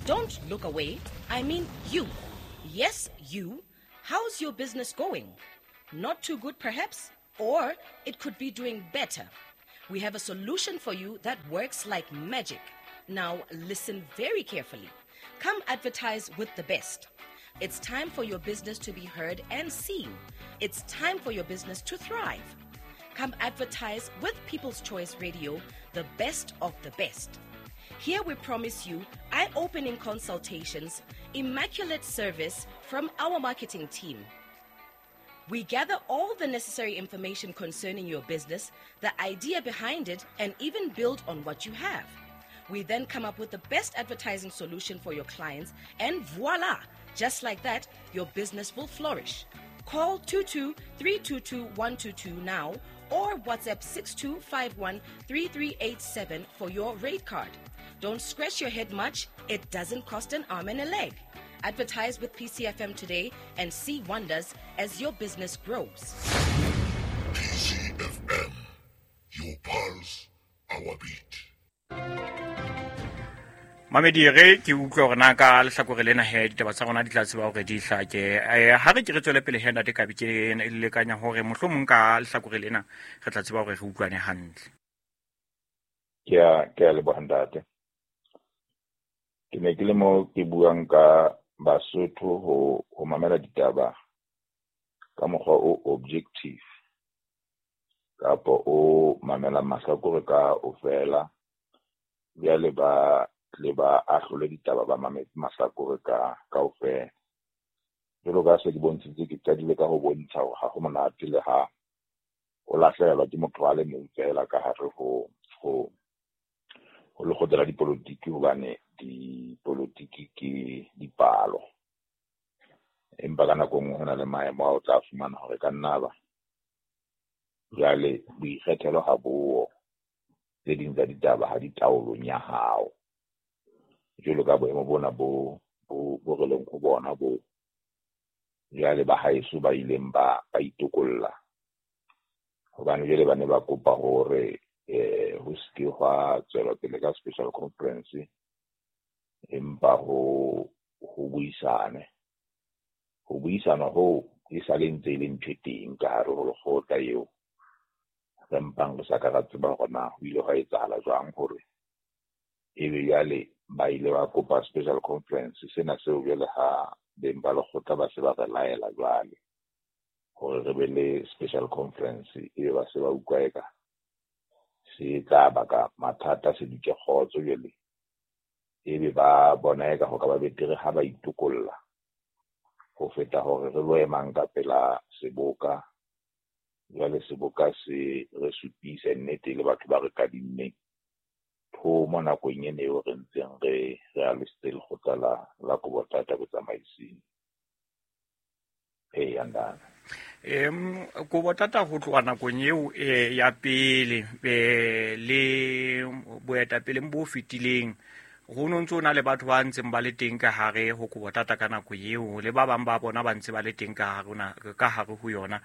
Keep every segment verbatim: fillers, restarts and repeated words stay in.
Don't look away. I mean you. Yes, you. How's your business going? Not too good, perhaps? Or it could be doing better. We have a solution for you that works like magic. Now, listen very carefully. Come advertise with the best. It's time for your business to be heard and seen. It's time for your business to thrive. Come advertise with People's Choice Radio, the best of the best. Here we promise you eye-opening consultations, immaculate service from our marketing team. We gather all the necessary information concerning your business, the idea behind it, and even build on what you have. We then come up with the best advertising solution for your clients, and voila! Just like that, your business will flourish. Call two two three two two one two two now or WhatsApp six two five one three three eight seven for your rate card. Don't scratch your head much. It doesn't cost an arm and a leg. Advertise with P C F M today and see wonders as your business grows. P C F M, your pulse, our beat. Mamedi re ke utlwa hore na ka lehlakore lena he ditaba tsa rona di tla tseba hore di hlake. Eh ha re ke re tswele pele he ntate Kabi ke lekanya hore mohlomong ka lehlakore lena re tla tseba hore re utlwane hantle. Ke a ke a leboha ntate. Ke ne ke le mo ke buang ka Basotho ho ho mamela ditaba ka mokgwa o objective kapa o mamela mahlakore ka ofela jwale ba le ba ahlole ditaba ba mametse mahlakore ka kaofela. Jwalo ka se ke bontshitse ke qadile ka ho bontsha hore ha ho monate le ha o lahlehelwa ke motho a le mong feela ka hare ho ho ho lekgotla la dipolotiki hobane dipolotiki ke dipalo. Empa ka nako nngwe ho na le maemo ao o tla fumana hore ka nna ba jwale boikgethelo ha bo tse ding tsa ditaba ha di taolong ya hao. Jwalo ka boemo bona bo bo bo re leng ho bona bo jwale ba haeso ba ileng ba ba itokolla hobane jwale ba ne ba kopa hore eh ho se ke hwa tswela pele ka special conference empa ho ho buisane ho buisana ho e sa le ntse e le ntho e teng ka hare ho lekgotla eo re mpang re sa ka ra tseba hore na ho ile hwa etsahala jwang hore ebe jwale ba ile ba kopa special conference. Sena seo jwale ha beng ba lekgotla ba se ba re laela jwale hore re be le special conference ebe ba se ba utlwa eka se tla baka mathata se dutse kgotso jwale ebe ba bona eka ho ka ba betere ha ba itokolla ho feta hore re lo emang ka pela seboka jwale seboka se re supise nnete le batho ba re kadimmeng thomo nakong ena eo re ntseng re re alositse lekgotla la la Kobo Thata botsamaising. Ee, andana. Em Kobo Thata ho tloha nakong eo e ya pele le boetapeleng bo fetileng ho no ntso na le batho ba ntseng ba le teng ka hare ho Kobo Thata ka nako eo le ba bang ba bona ba ntse ba le teng ka hare ona ka hare ho yona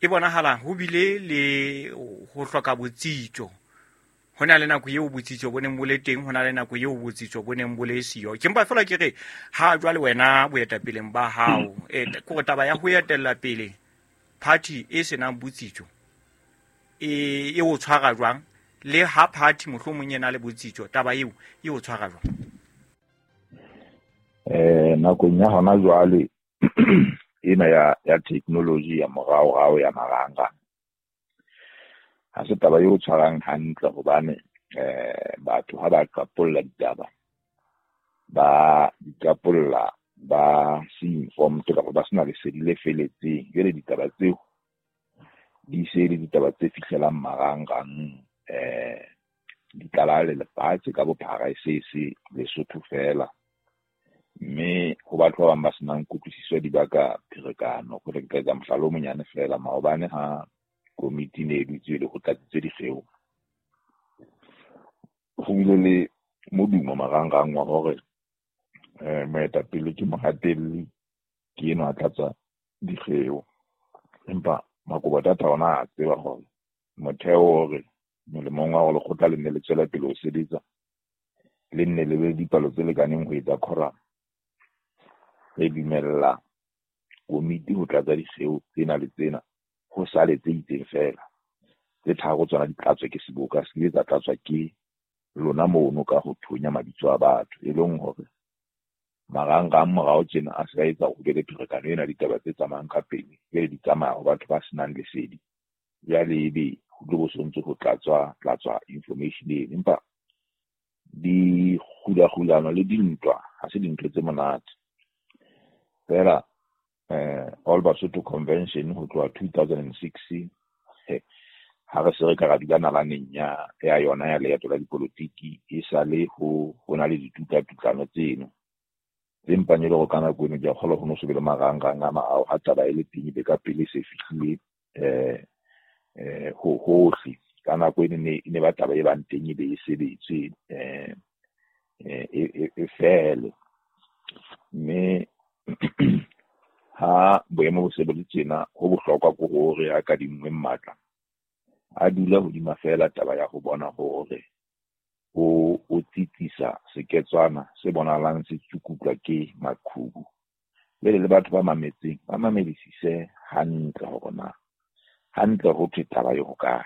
e bonahala ho bile le ho hloka botsitso. Ho na le nako eo botsitso bo neng bo le teng, ho na le nako eo botsitso bo neng bo le siyo. Ke mpa feela ke re ha jwale wena boetapeleng ba hao eh kore taba ya ho etella pele party e senang botsitso e e o tshwara jwang le ha party mohlomong ena le botsitso taba eo e o tshwara jwang? Eh nakong ya hona jwale ena ya ya technology ya moraorao ya marangrang ha se taba eo tshwarang hantle hobane eh batho ha ba qapolla ditaba ba di qapolla ba se informed kapa ba sena lesedi le feletseng. Jwale ditaba tseo di se le ditaba tse fihlelang marangrang eh di tlala le lefatshe ka bophara e se se Lesotho fela mme ho batho ba bang ba senang kutlwisiso di baka pherekano. Go re ke tla etsa mohlala o monyane fela maobane ha komiti ne e dutse le ho tlatsitse dikgeo ho bile le modumo marangrang wa hore eh moetapele ke mohatelli ke enwa a tlatsa dikgeo empa Makobo Thata ona a tseba hore motheo hore molemong wa hore lekgotla le nne le tswela pele ho sebetsa Le nne le be dipalo tse lekaneng ho etsa quorum. Re dumella komiti ho tlatsa dikgeo tsena le tsena, ho sale tse itseng feela. Tse tharo tsona di tlatswe ke seboka, se ke tsa tlatswa ke lona mono ka ho thonya mabitso a batho. E leng hore marangrang morao tjena a se ka etsa hore ho be le pherekano ena, ditaba tse tsamayang ka pele jwale di tsamaya ho batho ba senang lesedi. Jwale ebe ho tlo bo sontso ho tlatswa tlatswa information eno. Empa dikgulakgulano le dintwa ha se dintho tse monate. Feela eh All Basotho Convention ho tloha two thousand six, ha re se re ka ra dula nalaneng ya ya yona ya leeto la dipolotiki, e sale ho ho na le ditutatutlano tseno. Tse mpang e le hore ka nako eno ke a kgolwa ho no se be le marangrang ana ao, ha taba e le teng ebe ka pele se fihlile eh eh ho hohle. Ka nako eno ne e ne ba taba e bang teng ebe e sebetswe eh e e fele. Mme ha boemo bo se bo le tjena, ho bohlokwa ke hore a kadingwe matla a dula hodima feela taba ya ho bona hore o o tsitsisa seketswana se bonahalang se tsukutlwa ke maqhubu. Jwale le batho ba mametseng ba mamedisise hantle hore na hantle ho thwe taba e hokae.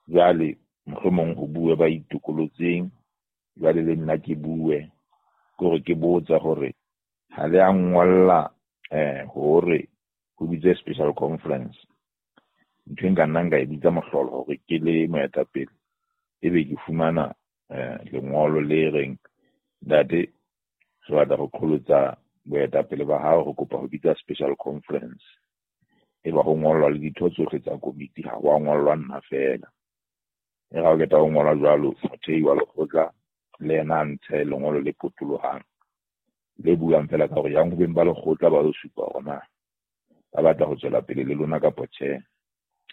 Jwale mohlomong ho bue ba itokolotseng, jwale le nna ke bue ke hore ke botsa hore ha le a ngolla eh hore ho bitswe special conference. Ntho e nka nnang ka e bitsa mohlolo hore ke le moetapele ebe ke fumana eh lengolo le reng ntate re batla ho qholotsa boetapele ba hao, re kopa ho bitsa special conference. Eba ho ngollwa le ditho tsohle tsa komiti, ha ho a ngollwa nna feela. E ra o qeta ho ngolwa jwalo, mothehi wa lekgotla le yena a ntshe lengolo le potolohang le buang feela ka hore yang ho beng ba lekgotla ba lo supa hore na ba batla ho tswela pele le lona kapa tjhe.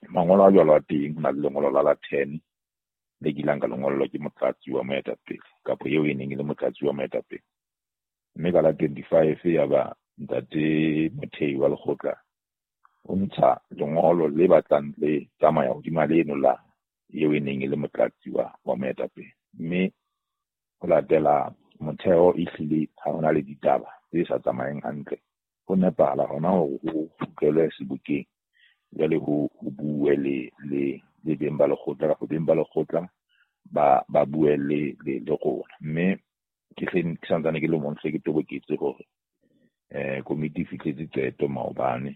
Mangolo a jwalo a teng, ho na le lengolo la la ten le kileng ka lengollo ke motlatsi wa moetapele kapa eo e neng e le motlatsi wa moetapele. Mme ka la twenty-five ya ba ntate mothehi wa lekgotla o ntsha lengolo le batlang le tsamaya hodima leno la eo e neng e le motlatsi wa wa moetapele. Mme ho latela motheo ehlile ha hona le ditaba tse sa tsamayeng hantle, ho nepahala hona hore ho kgutlelwe sebokeng, jwale ho ho bue le le le beng ba lekgotla kapa beng ba lekgotla ba ba bue le le le rona. Mme ke hle ke santsane ke le mong hle ke toboketse hore eh komiti e fihletse qeto maobane.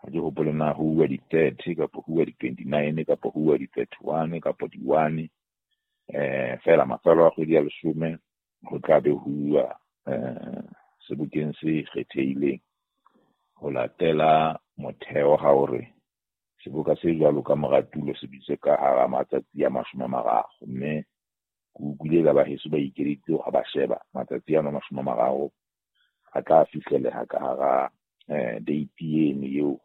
Ha ke hopole na ho uwa di-thirty kapa ho uwa di-twenty-nine kapa ho uwa di-thirty-one kapa di-one. Eh feela mafelo a kgwedi ya leshome ho tla be ho uwa eh sebokeng se kgethehileng ho latela motheo ha hore seboka se jwalo ka mora tulo se bitswe ka hara matsatsi a mashome a mararo. Mme ke utlwile ka ba heso ba ikeditse ha ba sheba matsatsi ano a mashome a mararo a tla fihleleha ka hara eh date eno eo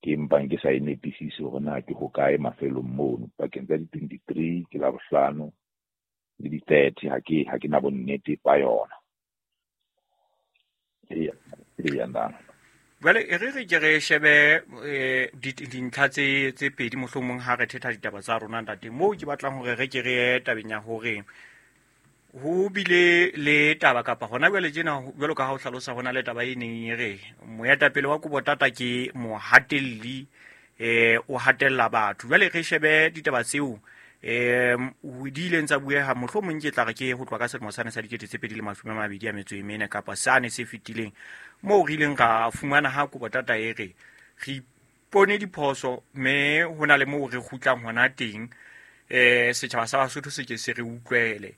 ke mpang ke sa e nepisise hore na ke hokae mafelong mono pakeng tsa di-twenty-three ke Labohlano le di-thirty. Ha ke ha ke na bonnete ba yona. Eya, eya nna. Jwale e re re ke re shebe eh dintlha tse tse pedi mohlomong ha re thetha ditaba tsa rona ntate. Moo ke batlang hore re ke re ye tabeng ya hore ho bile le taba kapa hona jwale tjena jwalo ka ha o hlalosa hona le taba e neng e re moetapele wa Kobotata ke mohatelli, eh o hatella batho. Jwale re shebe ditaba tseo eh di ileng tsa bueha mohlomong ke tla re ke ho tloha ka selemo sane sa dikete tse pedi le mashome a mabedi a metso e mene kapa sane se fetileng, moo re ileng ra fumana ha Kobotata e re re ipone diphoso mme ho na le moo re kgutlang hona teng, eh setjhaba sa Basotho se ke se re utlwele.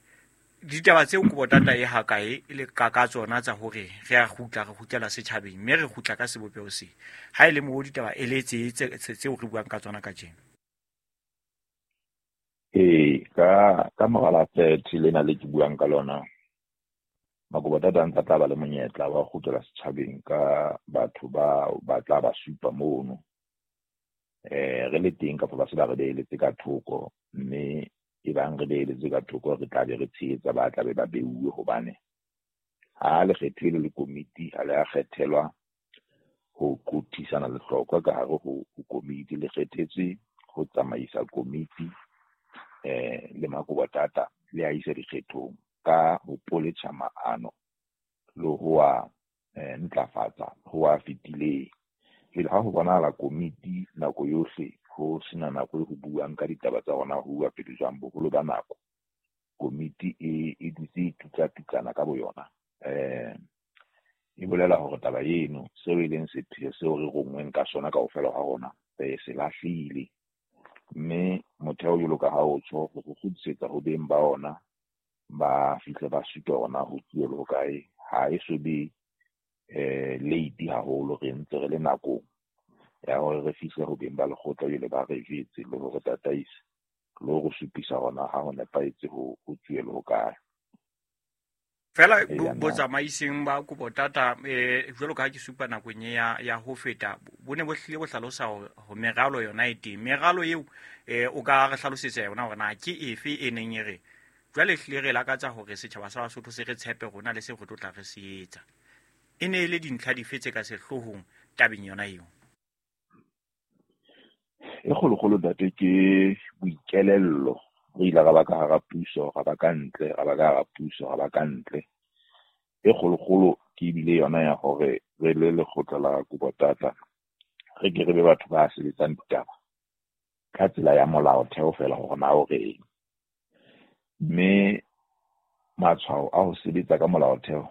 Ditaba tseo Kobotata e hakae le ka ka tsona tsa hore re a kgutla re kgutlela setjhabeng mme re kgutla ka sebopeho se ha e le moo ditaba e le tse tseo re buang ka tsona kajeno. Ee, ka ka mora la thirty lena le ke buang ka lona, Makobotata a ntse a tla ba le monyetla wa ho kgutlela setjhabeng ka batho ba ba tla ba supa mono. Eh re le teng kapa ba se ba re beheletse ka thoko, mme e bang re beheletse ka thoko re tla be re tshehetsa ba tla be ba beuwe, hobane ha le kgethilwe le komiti ha le a kgethelwa ho qothisana lehlokwa ka hare ho ho komiti, le kgethetswe ho tsamaisa komiti eh le Makobotata le a isa dikgethong ka ho poletjha maano le ho a ntlafatsa ho a fetileng. Jwale ha ho bonahala komiti nako yohle ho sena nako e ho buang ka ditaba tsa rona ho uwa pele jwang boholo ba nako komiti e e dutse e tutla-tutlana ka boyona. Eh e bolela hore taba eno seo e leng sepheo seo re rongweng ka sona kaofela ha rona re se lahlile, mme motheo jwalo ka ha o tjho ho kgutlisetsa ho beng ba ona ba fihle ba supe hore na ho tsuwe le hokae. Ha e so be eh late haholo, re ntse re le nakong ya hore re fihle ho beng ba lekgotla jwale ba re jwetse le hore tataise le hore supisa hore ha ho nepahetse ho ho tsuwe le hokae. Fela botsamaiseng ba Kobo-Tata eh jwalo ka ha ke supa nakong ya ya ho feta bo ne bo hlile bo hlalosa hore meralo yona e teng. Meralo eo eh o ka re hlalosetsa yona hore na ke efe e neng e re jwale hlile re lakatsa hore setjhaba sa Basotho se re tshepe rona le se re tlo tla re se etsa. E ne e le dintlha dife tse ka sehloohong tabeng yona eo? E kgolokgolo ntate ke boikelello. Re ile ra ba ka hara puso, ra ba ka ntle, ra ba ka hara puso, ra ba ka ntle. E kgolokgolo ke ebile yona ya hore re le lekgotla la Kobo-Tata re ke re be batho ba sebetsang ditaba ka tsela ya molaotheo fela hore na o reng. Mme matshwao a ho sebetsa ka molaotheo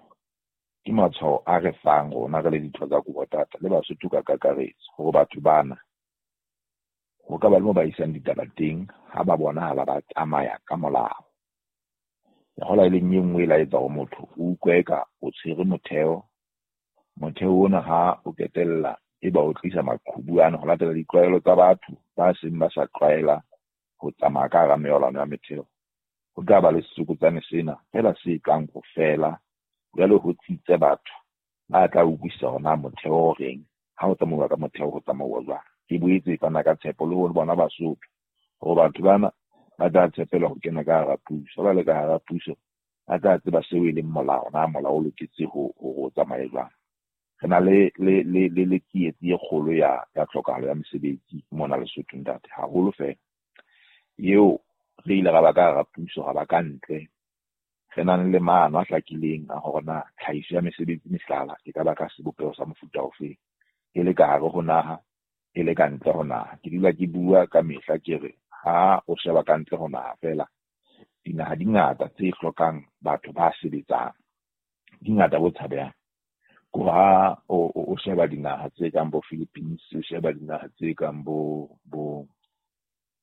ke matshwao a re fang rona re le ditho tsa Kobo-Tata le Basotho ka kakaretso hore batho bana ho ka ba le mo ba isang ditaba teng ha ba bonahala ba tsamaya ka molao. Ya hola e leng e nngwe e la etsa hore motho o utlwe eka o tshwere motheo. Motheo ona ha o ketella e ba o tlisa maqhubu ana ho latela ditlwaelo tsa batho ba seng ba sa tlwaela ho tsamaya ka hara meolano ya metheo. Ho tla ba le setsokotsane sena fela se tlang ho fela jwale ho tsitse batho ba tla utlwisisa hore na motheo o reng, ha ho tsamauwa ka motheo ho tsamauwa jwang. Ke boetse e fana ka tshepo le ho bona Basotho hore batho bana ba tla tshepela ho kena ka hara puso, ba le ka hara puso ba tla tseba seo e leng molao, na molao o loketse ho ho tsamaye jwang. Re na le le le le le tsietsi e kgolo ya ya tlhokahalo ya mesebetsi mona Lesotho ntate haholo fela. Eo re ile ra ba ka hara puso, ra ba ka ntle, re nang le maano a hlakileng a hore na tlhahiso ya mesebetsi mehlala e ka ba ka sebopeho sa mofuta ofe, e le ka hare ho naha, e le ka ntle ho naha. Ke dula ke bua ka mehla ke re ha o sheba ka ntle ho naha fela dinaha di ngata tse hlokang batho ba sebetsang, di ngata bo tshabehang. Ko ha o o sheba dinaha tse kang bo Philippines, o sheba dinaha tse kang bo bo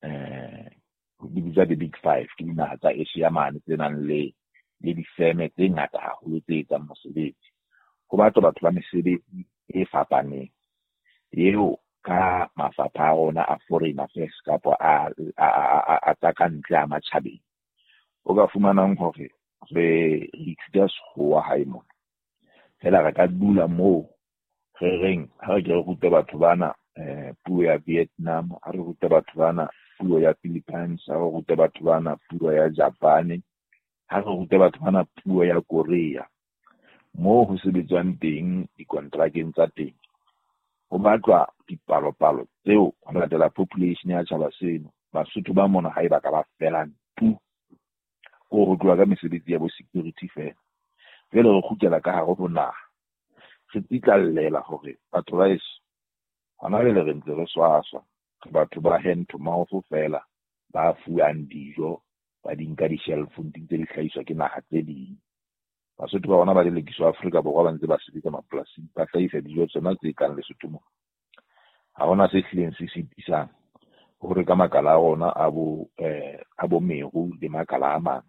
eh di bitswa the Big Five, ke dinaha tsa Asia mane tse nang le le difeme tse ngata haholo tse etsang mosebetsi. Ho batho batho ba mesebetsi e fapaneng eo ka mafapha a rona a foreign affairs kapa a a tsa ka ntle a matjhabeng o ka fumanang hore re ithuta sekgowa hae mona fela re ka dula moo re reng ha re ke re rute batho bana eh puo ya Vietnam, ha re rute batho bana puo ya Philippines, ha re rute batho bana puo ya Japan, ha re rute batho bana puo ya Korea. Moo ho sebetswang teng dikontrakeng tsa teng ho batlwa dipalopalo tseo ho latela population ya tjhaba seno. Basotho ba mona ha e ba ka ba felang tu ko ho tloha ka mesebetsi ya bo security fela. Jwale re kgutlela ka hare ho naha, re tsitlallela hore batho ba heso hona jwale re ntse re swaswa, re batho ba hand to mouth fela ba fuwang dijo ba di nka di-shelf-ong di ntse di hlahiswa ke naha tse ding. Basotho ba bona ba lelekiswa Afrika Borwa ba ntse ba sebetsa mapolasing, ba hlahisa dijo tsona tse kang Lesotho mona. Ha hona se hlileng se sitisang hore ka makala a rona a bo eh a bo meru le makala a mang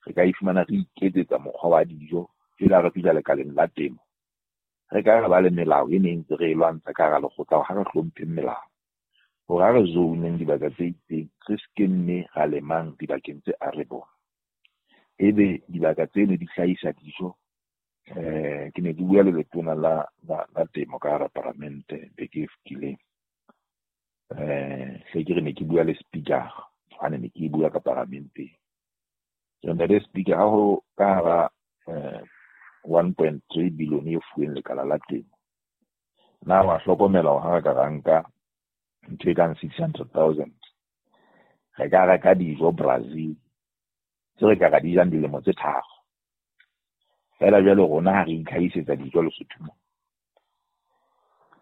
re ka ifumana re iketsetsa mokgwa wa dijo. Jwale ha re fihla lekaleng la temo re ka re ba le melao e neng ntse re e lwantsha ka hara lekgotla ha re hlompheng melao hore ha re zouneng dibaka tse itseng re se ke nne ra lemang dibakeng tse arable, ebe dibaka tseno di hlahisa dijo. Eh ke ne ke bua le letona la la temo ka hara paramente beke e fetileng. Eh hle ke re ne ke bua le speaker hobane ne ke bua ka paramenteng. Jwale le speaker ha ho ka hara eh one point three billion e fuweng lekala la temo, na wa hlokomela hore ha re ka ra nka ntho e kang six hundred thousand re ka reka dijo Brazil tse re ka ra di jang dilemo tse tharo. Feela jwale rona ha re itlhahisetsa dijo Lesotho mo,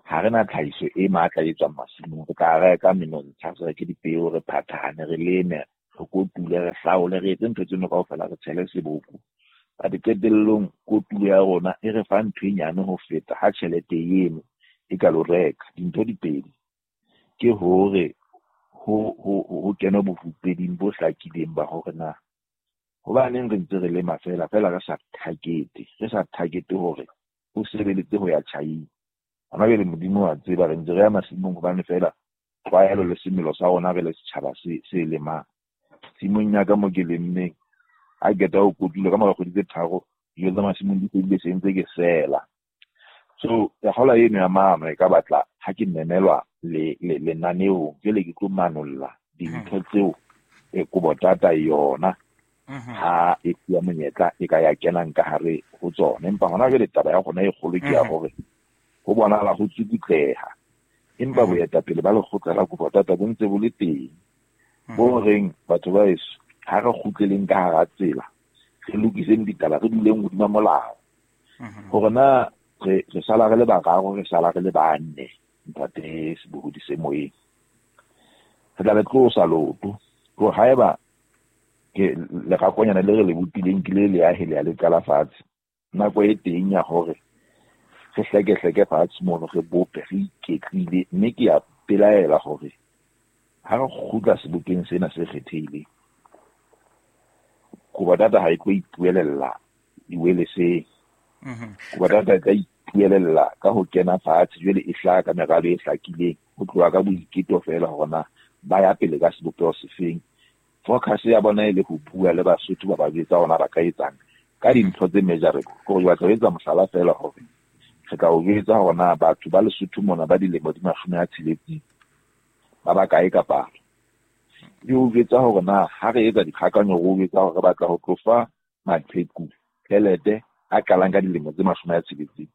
ha re na tlhahiso e matla e tswang masimong. Re tla reka menontsha, re reke dipeo, re phathahane, re leme, re kotule, re hlaole, re etse ntho tseno kaofela, re tshele seboko. But qetellong kotulo ya rona e re fa ntho e nyane ho feta ha tjhelete eno e ka lo reka. Dintho di pedi ke hore ho ho ho kenwe borupeding bo hlakileng ba hore na hobaneng re ntse re lema fela fela re sa target, re sa target hore o sebeletse ho ya tjhaing. Hona jwale Modimo wa tseba re ntse re ya masimong hobane fela tlwaelo le semelo sa rona re le setjhaba se se lemang. Tshimong ya ka mo ke lemmeng, ha ke qeta ho kotula ka mora kgwedi tse tharo, dijo tsa masimong di fedile, se ntse ke sela. So ya kgola eno ya mano e ka batla ha ke memelwa le le lenaneong, jwale ke tlo manolla dintho tseo e Kobo Tata yona ha e fuwa monyetla e ka ya kenang ka hare ho tsona. Empa hona jwale taba ya rona e kgolo ke ya hore ho bonahala ho tsukutleha, empa boetapele ba lekgotla la Kobo Tata bo ntse bo le teng, bo reng batho ba heso ha re kgutleleng ka hara tsela, re lokiseng ditaba, re duleng hodima molao. Hore na re re sala re le bararo, re sala re le banne, ntate Sebohodi se moyeng, re tla be tlosa loto. Hore haeba ke lerakonyana le re le bopileng ke le le ahe le ya le qala fatshe, nako e teng ya hore re hlekehleke fatshe mono, re bope, re iketlile. Mme ke a belaela hore ha re kgutla sebokeng sena se kgethehileng, Kobo Tata ha e tlo ipuelella diweleseng. Kobo Tata e tla ipuelella ka ho kena fatshe jwale e hlaha ka meralo e hlakileng, ho tloha ka boiketo feela hore na ba ya pele ka sebopeho sefeng. Focus ya bona e le ho bua le Basotho ba ba jwetsa hore na ba ka etsang ka dintho tse measurable. Ke hore ke batla ho etsa mohlala feela hore re tla o jwetsa hore na batho ba Lesotho mona ba dilemo di mashome a tsheletseng ba bakae ka palo. E o jwetsa hore na ha re etsa dikgakanyo, re o jwetsa hore re batla ho tlo fa maqheku tjhelete a qalang ka dilemo tse mashome a tsheletseng.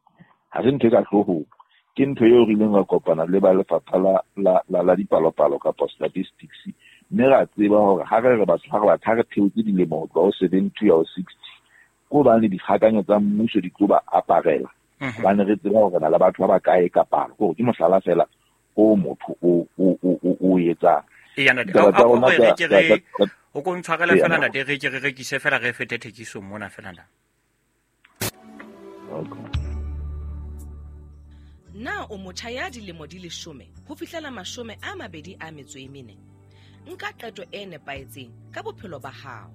Ha se ntho e ka hloohong, ke ntho eo re ileng ra kopana le ba lefapha la la la, la dipalopalo kapa statistics, mme ra tseba hore ha re re batho ha re batho ha re theotse dilemo ho tloha ho seventy ho ya ho sixty, ke hobane dikgakanyo tsa mmuso di tlo ba aparela, hobane re tseba hore na le batho ba bakae ka palo. Ke hore ke mohlala feela o motho o o o o etsang. Eya ntate, a ke re o ko ntshwarele fela ntate, re ke re rekise fela re fete thekisong mona fela ntate. Okay. Na o motjha ya dilemo di leshome ho fihlela mashome a mabedi a metso e mene? Nka qeto e nepahetseng ka bophelo ba hao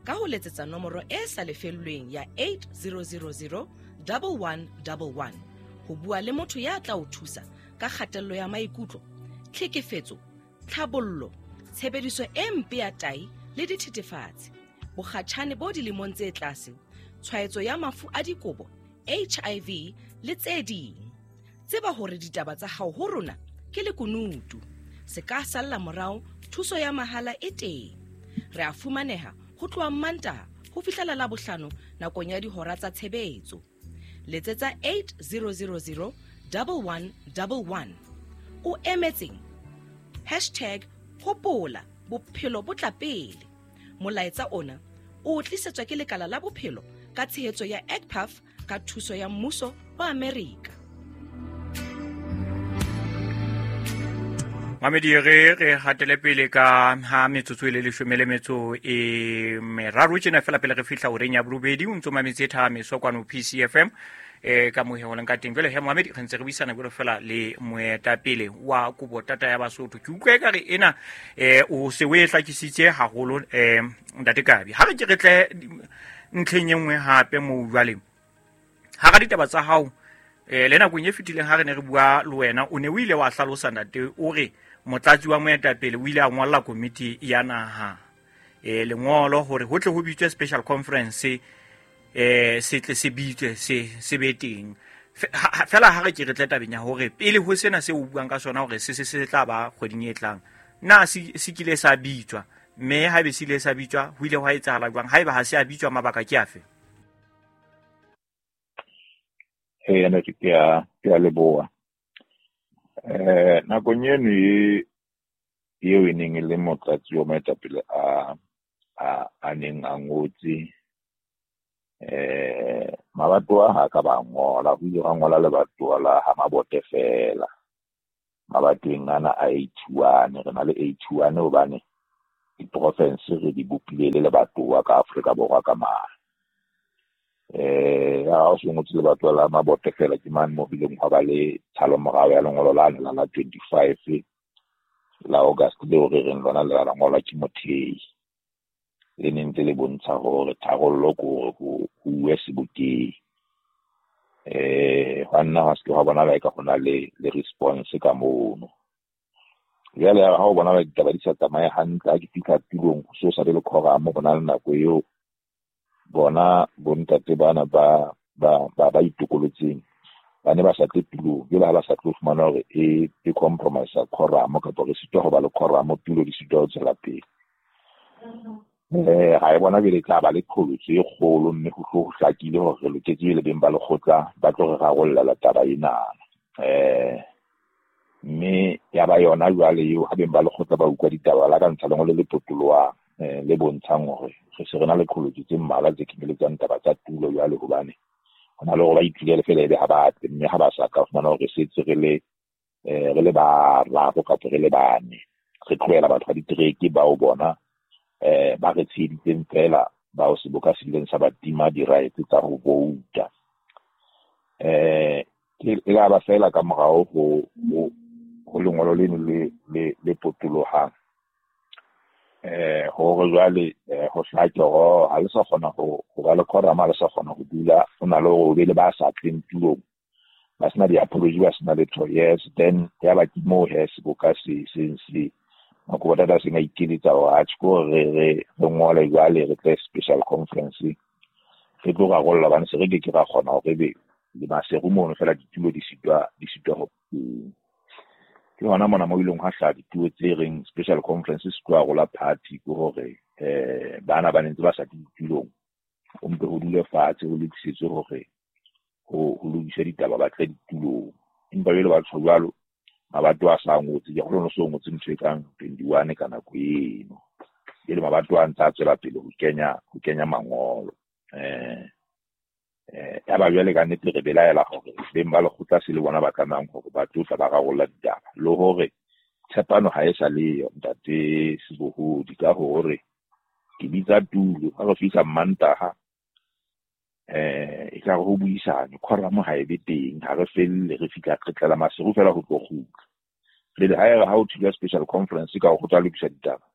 ka ho letsetsa nomoro e sa lefellweng ya eight zero zero zero double one double one ho bua le motho ya tla o thusa ka kgatello ya maikutlo, tlhekefetso, tlhabollo, tshebediso e mpe ya tahi le dithethefatsi, bokgatjhane bo dilemong tse tlase, tshwaetso ya mafu a dikobo, H I V le tse ding. Tseba hore ditaba tsa hao ho rona ke lekunutu. Se ka salla morao, thuso ya mahala e teng. Re a fumaneha ho tloha Mantaha ho fihlela Labohlano nakong ya dihora tsa tshebetso. Letsetsa eight zero zero zero double one double one. O emetseng? Hashtag hopola bophelo bo tla pele. Molaetsa ona o tlisetswa ke lekala la bophelo ka tshehetso ya E C P A F ka thuso ya mmuso wa Amerika. Mamedi re re hatele pele ka ha metsotso e le leshome le metso e meraro tjena fela pele re fihla horeng ya borobedi. O ntso mametse Thameso kwano P C F M e ka mohelang ka teng. Jwale he Mohamedi re ntse re buisana jwalo fela le moetapele wa Kobo Tata ya Basotho. Ke utlwa ekare ena eh o se o e hlakisitse haholo eh ntate Kabi. Ha re ke re tle ntlheng e nngwe hape moo jwale. Ha ra ditaba tsa hao eh le nakong e fetileng ha re ne re bua le wena o ne o ile wa hlalosa ntate o re motlatsi wa moetapele o ile a ngolla komiti ya naha eh lengolo hore ho tle ho bitswe special conference eh se tle se bitswe se se be teng. Fela ha re ke re tle tabeng ya hore pele ho sena se o buang ka sona hore se se se tla ba kgweding e tlang, na se se kile sa bitswa, mme ha be se ile sa bitswa ho ile hwa etsahala jwang? Haeba ha se a bitswa mabaka ke afe? Eh nna ke a ke a leboha. Eh nakong eno e eo e neng e le motlatsi wa moetapele a a a neng a ngotse eh mabatowa ha ka ba ngola, ho ile ha ngola lebatowa la ha Mabote fela mabatoweng ana a eighty-one. Re na le eighty-one hobane diprovince re di bopile le lebatowa ka Afrika Borwa ka mane. Eh ha o se ngotse lebatowa la Mabote fela, ke mane mo bileng hwa ba le tshalomorao ya lengolo lane la la twenty-five la August leo re reng lona le la ngolwa ke Mothei, le ne ntse le bontsha hore tharollo ke hore ho uwe sebokeng. Eh hwa nna hwa se ke hwa bonahala eka ho na le le response ka mono. Jwale ha o bonahala ditaba di sa tsamaye hantle, ha ke fihla tulong ho so sa le quorum, ho na le nako eo bona bontate bana ba ba ba ba itokolotseng ba ne ba sa tle tulong. Jwale ha ba sa tlo fumana hore e e compromise quorum kapa re sitwa ho ba le quorum, tulo di sitwa ho tswela pele. Eh ha e bona jwale e tla ba le qholotso e kgolo, mme ho tlo ho hlakile hore re loketse le beng ba lekgotla ba tlo re rarollela taba ena. Eh mme ya ba yona jwale eo ha beng ba lekgotla ba utlwa ditaba la ka ntsha lengolo le potolohang eh le bontshang hore re se re na le qholotso tse mmalwa tse kenyeletsang taba tsa tulo jwale, hobane ho na le hore ba itulele fela ebe ha ba tle, mme ha ba sa ka fumana hore re setse re le eh re le bararo kapa re le bane, re tlohela batho ba ditereke bao bona eh ba re tsheditseng fela, bao seboka se ileng sa ba tima di-rights tsa ho vouta. Eh ke la ba fela ka morao ho ho lengolo leno le le le potolohang eh hore jwale ho hlake hore ha le sa kgona ho ho ba le quorum, ha le sa kgona ho dula, ho na le hore o be le ba sa tleng tulong, ba sena di-apology, ba sena letho. Yes, then ya ba ke moo he seboka se se se Makobo Tata se nga ikeletsa hore atjhe ke hore re re re ngole jwale re tle special conference re tlo rarolla, hobane se re ke ke ra kgona hore ebe le Maseru mono fela ditulo di sitwa di sitwa ho ke hona mona mo ileng ha hlaha ditulo tse reng special conference se tlo arola party, ke hore eh bana ba ne ntse ba sa ditulong, o mpe ho dule fatshe ho lokisetswe hore ho ho lokiswe ditaba ba tle ditulong. Empa jwale ba tjho jwalo mabato a sa ngotse, ke kgolwa so ngotse ntho e kang twenty-one ka nako eno, jwale mabato a ntse a tswela pele ho kenya ho kenya mangolo. Eh eh ya ba jwale ka nnete re belaela hore beng ba lekgotla se le bona ba tlamehang hore ba tlo tla ba rarolla ditaba, le hore tshepano ha e sa leyo ntate Sebohodi, ka hore ke bitsa tulo ha re fihla Mmantaha eh e tla re ho buisane, quorum ha e be teng, ha re felle, re fihla re tlela Maseru fela ho tlo kgutla. Jwale ha e ha o thula special conference ka ho tla lokisa ditaba,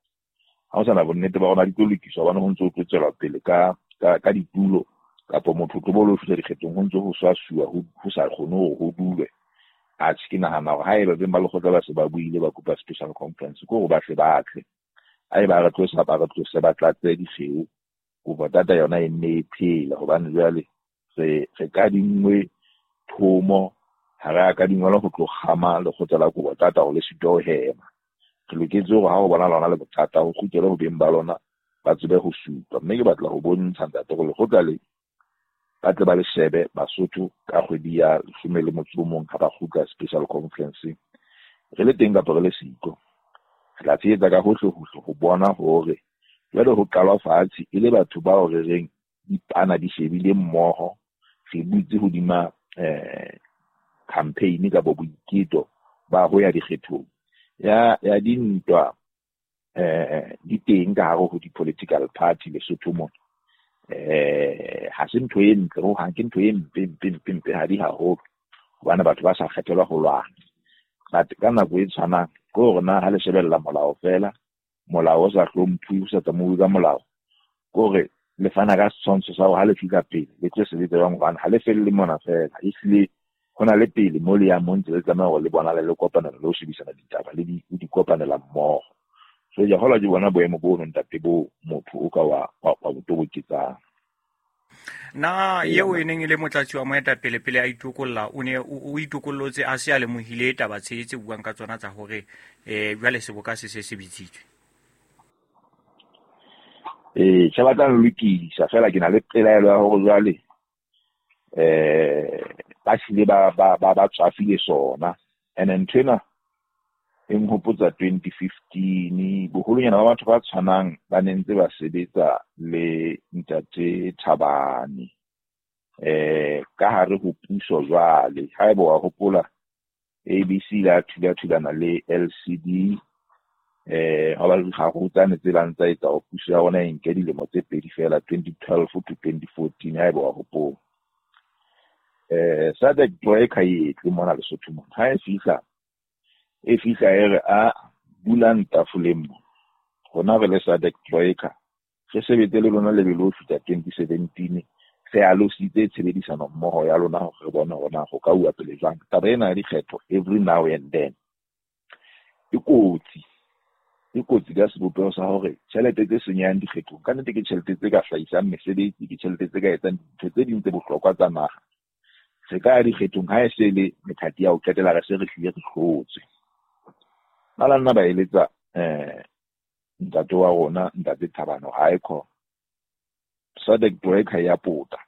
ha o sana bonnete ba rona di tlo lokiswa, hobane ho ntse ho tlo tswelwa pele ka ka ka ditulo, kapa motho o tlo bo lo fihla dikgethong ho ntse ho swasuwa, ho sa kgone hore ho dulwe. Atjhe, ke nahana hore haeba beng ba lekgotla ba se ba buile ba kopa special conference, ke hore ba hle ba tle, haeba re tlo sa ba re tlo se ba tlatse dikgeo, Kobo Tata yona e nne e phela, hobane jwale re re kadingwe thomo, ha re a kadingwela ho tlo kgama lekgotla la Kobo Tata hore le sitwe ho hema. Re loketse hore ha o bona lona le bothata ho kgutlele ho beng ba lona ba tsebe ho supa. Mme ke batla ho bontsha ntate hore lekgotla le ba tle ba le shebe Basotho ka kgwedi ya leshome le motso o mong ha ba kgutla special conference, re le teng kapa re le siko, re tla tshehetsa ka hohle hohle ho bona hore jwale ho qalwa fatshe e le batho bao re reng dipana di shebile mmoho, re butse hodima eh campaign kapa boiketo ba ho ya dikgethong ya ya dintwa eh di teng ka hare ho di-political party Lesotho mona. Eh ha se ntho e ntle ho hang, ke ntho e mpe mpe mpe mpe ha di haholo, hobane batho ba sa kgethelwa ho lwana. But ka nako e tshwanang ke hore na ha le shebella molao fela, molao o sa hlomphuwe, o sa tsamauwe ka molao, ke hore le fana ka setshwantsho sa hore ha le fihla pele le tlo sebetsa jwang, hobane ha le felle mona fela, ehlile ho na le pele mo le yang mo ntse le tlameha hore le bonale le kopanela le ho shebisana ditaba le di le di kopanela mmoho. So ke kgolwa ke bona boemo bono ntate bo motho o ka wa wa bo toboketsang. Na eo e neng e le motlatsi wa moetapele pele a itokolla, o ne o itokollotse a se a lemohile taba tse tse buang ka tsona tsa hore eh jwale seboka se se se bitsitswe? Eh tjhe, ba tla lokisa fela, ke na le pelaelo ya hore jwale eh ba hlile ba ba ba ba tswafile sona. And nthwena E nhopotsa twenty fifteen boholonyana ba batho ba tshwanang ba ne ntse ba sebetsa le ntate Thabane eh ka hare ho puso jwale. Haeba wa hopola A B C la thula thulana le L C D eh ha ba le kgarutsane tse lang tsa etsa hore puso ya rona e nke dilemo tse pedi fela twenty twelve to twenty fourteen haeba wa hopola. Eh S A D C Troika e tle mona Lesotho mona ha e fihla e fihla e re a dulang tafoleng mo rona re le S A D C Troika re sebetse le lona lebelo ho fihla twenty seventeen re alositse tshebedisano mmoho ya lona hore re bone hore na ho ka uwa pele jwang. Taba ena ya dikgetho every now and then e kotsi, e kotsi ka sebopeho sa hore tjhelete tse senyang dikgethong ka nnete ke tjhelete tse ka hlahisang mesebetsi, ke tjhelete tse ka etsang dintho tse ding tse bohlokwa tsa naha. Re ka ya dikgethong ha e se le methati ya ho qetela re se re hlile re hlotswe. Ba la nna ba eletsa eh ntate wa rona ntate Thabane ha e khona S A D C Troika ya pota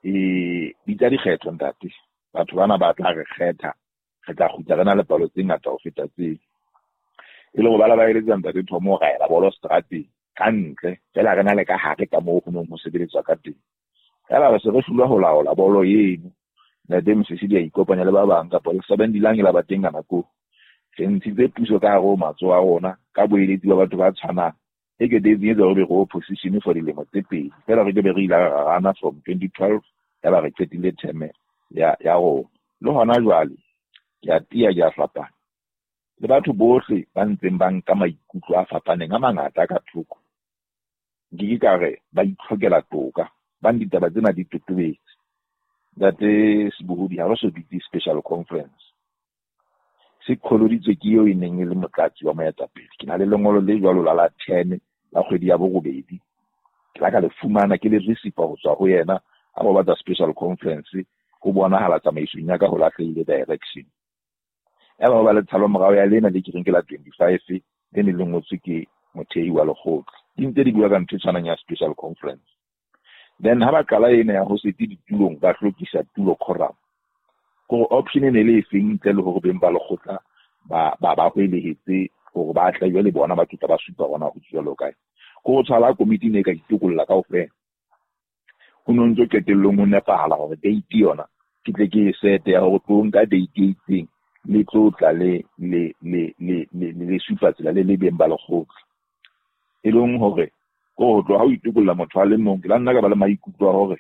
e bitsa dikgetho ntate, batho bana ba tla re kgetha, re tla kgutla re na le palo tse ngata ho feta tseo. E le go bala ba eletsa ntate Thomo ra ela bolo strateng ka ntle fela re na le ka hare ka moo ho neng ho sebeletswa ka teng. Fela re se re hlolwa ho laola bolo eno. Ntate Mosisi di a ikopanya le ba bang kapa le Seven Dilang la ba teng ka nako. Re ntshitse puso ka hare ho matsoho a rona ka boeletsi ba batho ba tshwanang. E ke teng etsa hore re opposition for dilemo tse pedi. Fela re ke be re ile ra rana from twenty twelve ya ba re qetile term ya ya rona. Le hona jwale ke a tiya ke a hlapanya le batho bohle ba ntseng ba nka maikutlo a fapaneng a mangata ka thoko. Nke ke ka re ba itlhokela toka ba ditaba tsena di totobetse. Ntate Sebohodi ha re so bitse special conference se qholoditswe ke eo e neng e le motlatsi wa moetapele. Ke na le lengolo le jwalo la la ten la kgwedi ya borobedi, ke la ka le fumana ke le recipe ho tswa ho yena a ba batla special conference ho bonahala tsamaisong ya ka ho lahlehile direction. Ya ba ba le tshalo morao ya lena le ke reng ke la twenty-five le ne le ngotswe ke mothei wa lekgotla. Di ntse di bua ka ntho e tshwanang ya special conference. Then ha ba qala ena ya ho sete ditulong ba hlokisa tulo quorum. Kore option e ne le efeng ntle le hore beng ba lekgotla ba ba ba hwelehetse hore ba tle jwale bona ba tla ba supa hona ho jwalo kae. Ko tshwala komiti ne ka itokolla kaofela. Ho no ntso qetellong ho nepahala hore date yona ke tle ke e sete ya hore tlo nka date e itseng le tlo tla le le le le le le supa tsela le le beng ba lekgotla. E leng hore ko ho tloha ho itokolla motho a le mong ke la nna ka ba le maikutlo a hore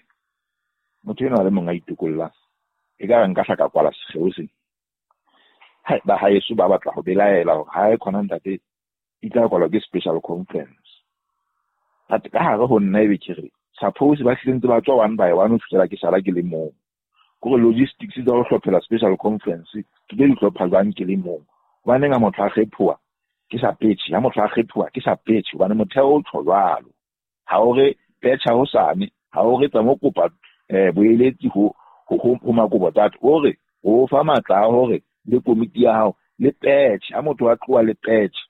motho enwa a le mong a itokollang e ka re nka hla ka kwala sekgeo sena. Hai ba haeso ba batla ho belaela hore ha e khona ntate di tla kwalwa ke special conference. But ka hare ho nna ebe ke re suppose ba hlile ntse ba tswa one by one ho fihlela ke sala ke le mong. Kore logistics tsa ho hlophela special conference ke tlo di hlopha jwang ke le mong. Hobaneng ha motho a kgethuwa ke sa petjhe, ha motho a kgethuwa ke sa petjhe hobane motheo o tjho jwalo. Ha o re petjha hosane, ha o re tsa mo kopa eh boeletsi ho ho ho makobo tata, o re o fa matla a hore le komiti ya hao le petjhe, ha motho a tloha le petjhe.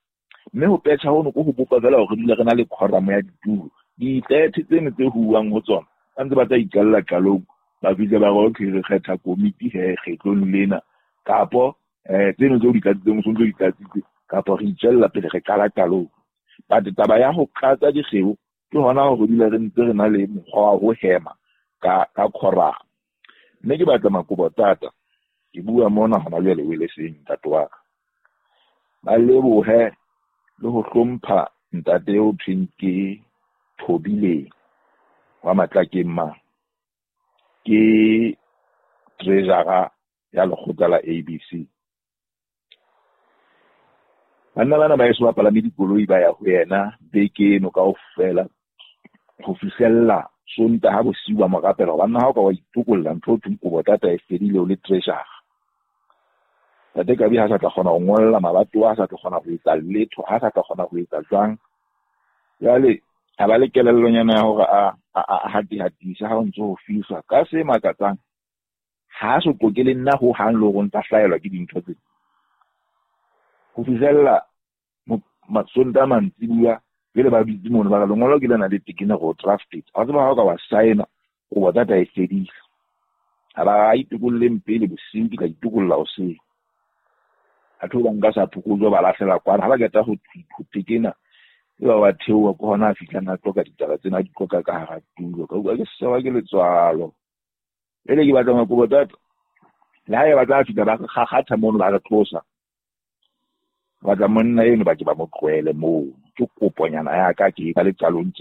Mme ho petjha hono ko ho bopa fela hore re dule re na le quorum ya ditulo. Ditlethe tseno tse huwang ho tsona ba ntse ba tla iqalla qalong ba fihle ba re okay re kgetha komiti he kgetlong lena kapo eh tseno tseo di tlatsitseng o sontso di tlatsitse kapo re itjella pele re qala qalong. But taba ya ho tlatsa dikgeo ke hona hore dule re ntse re na le mokgwa wa ho hema ka ka quorum. Mme ke batla makobo tata ke bua mona hona jwale o le seng ntate wa ka. Ba lebohe le ho hlompha ntate eo thweng ke Thobile wa Matlakeng ma ke treasurer ya lekgotla la A B C. Banna bana ba eso ba palame dikoloi ba ya ho yena beke eno kaofela ho fihlella Sontaha bosiu ba mo rapela. Banna ha o ka wa itokolla ntho o thweng kobo tata e fedile o le treasurer. Ntate Kabi ha sa tla kgona ho ngolla mabatowa, ha sa tla kgona ho etsa letho, ha sa tla kgona ho etsa jwang. Jwale ha ba le kelellonyana ya hore a a hati-hatise ha o ntso ho fihlwa. Ka se makatsang ha so qoke le nna ho hang le hore o ntsa hlahelwa ke dintho tse. Ho fihlella Sontaha mantsibuya jwale ba bitse mono ba re lengolo ke lena le tekene go draft it. Ha o tseba ha o ka wa sign-a kobo tata e fedile. Ha ba itokolleng pele bosiu ke tla itokolla hoseng. Atho ba nka sa phokojwe ba lahlela kwana. Ha ba qeta ho ho tekena, e ba ba theoha ke hona a fihlang a tloka ditaba tsena, di tloka ka hara tulo. Ka utlwa ke sewa ke letswalo. Jwale ke batla Makobo tata. Le ha e ba tla fihla ba re kgakgatha mono ba re tlosa. Batla monna eno ba ke ba mo tlohele moo. Ke koponyana ya ka ke ka letlalong.